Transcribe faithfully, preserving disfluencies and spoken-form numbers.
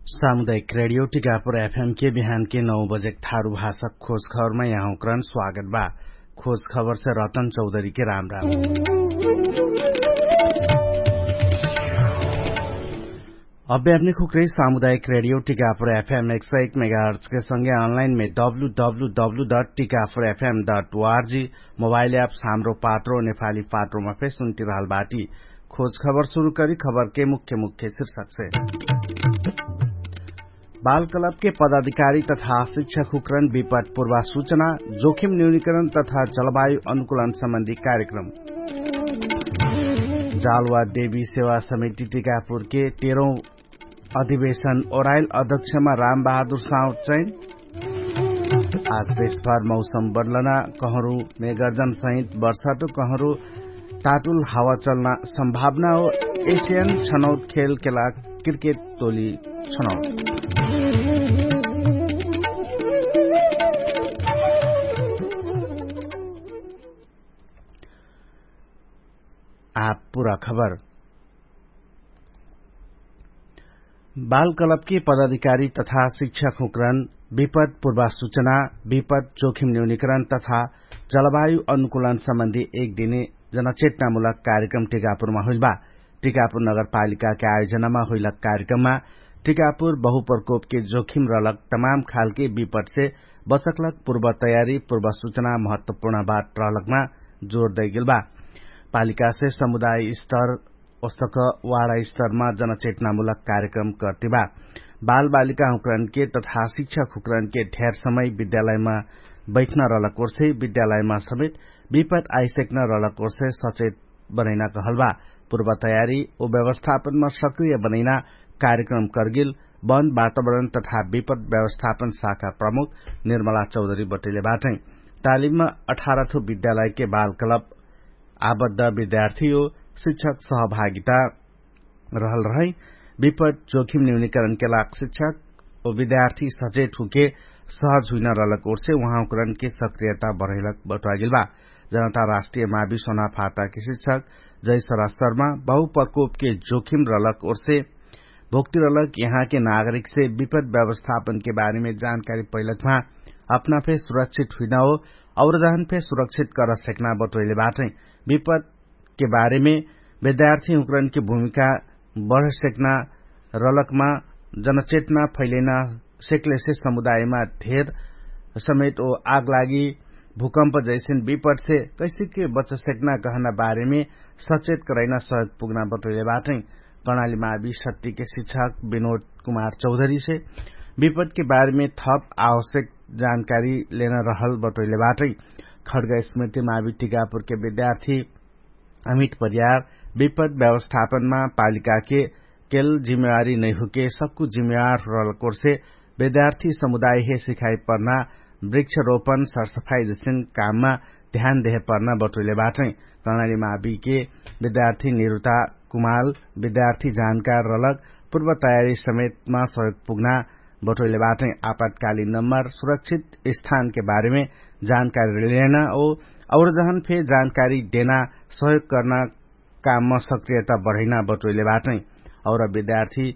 सामुदायिक रेडियो टिकापुर एफएम के बिहान के नौ बजेक थारु भाषा खोज खबरमा यहाँकरण स्वागत बा। खोज खबर से रतन चौधरी के राम राम। अभ्यात्मिक हुक्रे सामुदायिक रेडियो टिकापुर एफएम एक सय एक मेगाहर्च के संगे अनलाइन मे W W W dot Tikapur FM dot ORG mobile apps Hamro Patro नेपाली पात्रोमा फेर सुन्टिरहल बाटी। खोज खबर सुरु करी खबर के मुख्य मुख्य शीर्षक से। बालकलबके पदाधिकारी तथा शिक्षक हुक्रन विपत पूर्वासूचना, जोखिम न्यूनिकरण तथा जलवायु अनुकूलन सम्बन्धी कार्यक्रम। जालवा देवी सेवा समिति टिकापुरके तेह्रौं अधिवेशन ओराइल अध्यक्षमा राम बहादुर साउचैन। आज देशभर मौसम बदलना कहरु मेगर्जन सहित वर्षाटु कहरु ताटुल हावा चल्ना सम्भावना हो। एसियन छनौट खेल केला क्रिकेट टोली छनौट। आप पुरा खबर। बालकलबके पदाधिकारी तथा शिक्षक हुक्रन विपद पूर्वासूचना, विपद जोखिम न्यूनिकरण तथा जलवायु अनुकूलन सम्बन्धी एक दिने जनचेतनामुलक कार्यक्रम टिकापुरमा होइलबा। टिकापुर नगरपालिकाके आयोजनामा होइलक कार्यक्रममा टिकापुर बहुप्रकोपके जोखिम रहलक तमाम खालके विपदसे बचकलक पूर्वतयारी पूर्वसूचना महत्वपूर्ण बात रहलकमा जोर दैगेलबा। पालिकासे समुदाय स्तर ओस्तक वाडा स्तरमा जनचेतनामुलक कार्यक्रम कर्तिबा। बालबालिका हुक्रनके तथा शिक्षक हुक्रनके ढेर समय विद्यालयमा बैठ्न रहलक ओर्से विद्यालयमा समेत विपत आइसेक्न रहलक ओर्से सचेत बनैना कहलबा। पूर्वतयारी ओ व्यवस्थापनमा सक्रिय बनैना कार्यक्रम कर्गिल वन वातावरण तथा विपत व्यवस्थापन शाखा प्रमुख निर्मला चौधरी बटैले बाटै। तालिममा अठारथो विद्यालयके बालकलब आबद्ध विद्यार्थी ओ शिक्षक सहभागिता रहल रहै। विपत जोखिम न्यूनिकरणके लाग शिक्षक ओ विद्यार्थी सचेत हुके सहज हुइना रहलक ओर्से उहाँकरणके सक्रियता बढैलक बटुवागेलबा। जनता राष्ट्रिय मावि सोनाफाटाके शिक्षक जैसरा शर्मा बहुप्रकोपके जोखिम रहलक ओर्से भोक्ति रहलक यहाँके नागरिकसे विपत व्यवस्थापनके बारेमे जानकारी पैलकमा अपना फे सुरक्षित हुइना हो और जहन फे सुरक्षित कर सेक्ना बटोइले बाटै। विपतके बारेमे विद्यार्थी हुक्रनके भूमिका बढ सेक्ना रलकमा जनचेतना फैलैना सेक्लेसे समुदायमा धेर समेत ओ आगलागी भूकम्प जैसेन विपटसे कैसेके बच सेक्ना कहना बारेमे सचेत करैना सहयोग पुग्ना बटोइले बाटै। कर्णाली मावि सत्तिके शिक्षक विनोद कुमार चौधरीसे विपटके बारेमे थप आवश्यक जानकारी लेना रहल बटोइले बाटै। खड्ग स्मृति मावि टिकापुरके विद्यार्थी अमित परियार विपत व्यवस्थापनमा पालिकाके केल जिम्मेवारी नैहुके सक्कु जिम्मेवार रहलक ओर्से विद्यार्थी समुदायहे सिखाइ पर्ना वृक्षरोपन सरसफाइ जसिन काममा ध्यान देहे पर्ना बटोइले बाटै। कर्णाली माविके विद्यार्थी निरुता कुमाल विद्यार्थी जानकार रहलक पूर्व तयारी समेतमा सहयोग पुग्ना बटोइले बाटै। आपतकालीन नम्बर सुरक्षित स्थानके बारेमे जानकारी लेना ओ और जहन फे जानकारी देना सहयोग कर्ना काममा सक्रियता बढैना बटोइले बाटै। और विद्यार्थी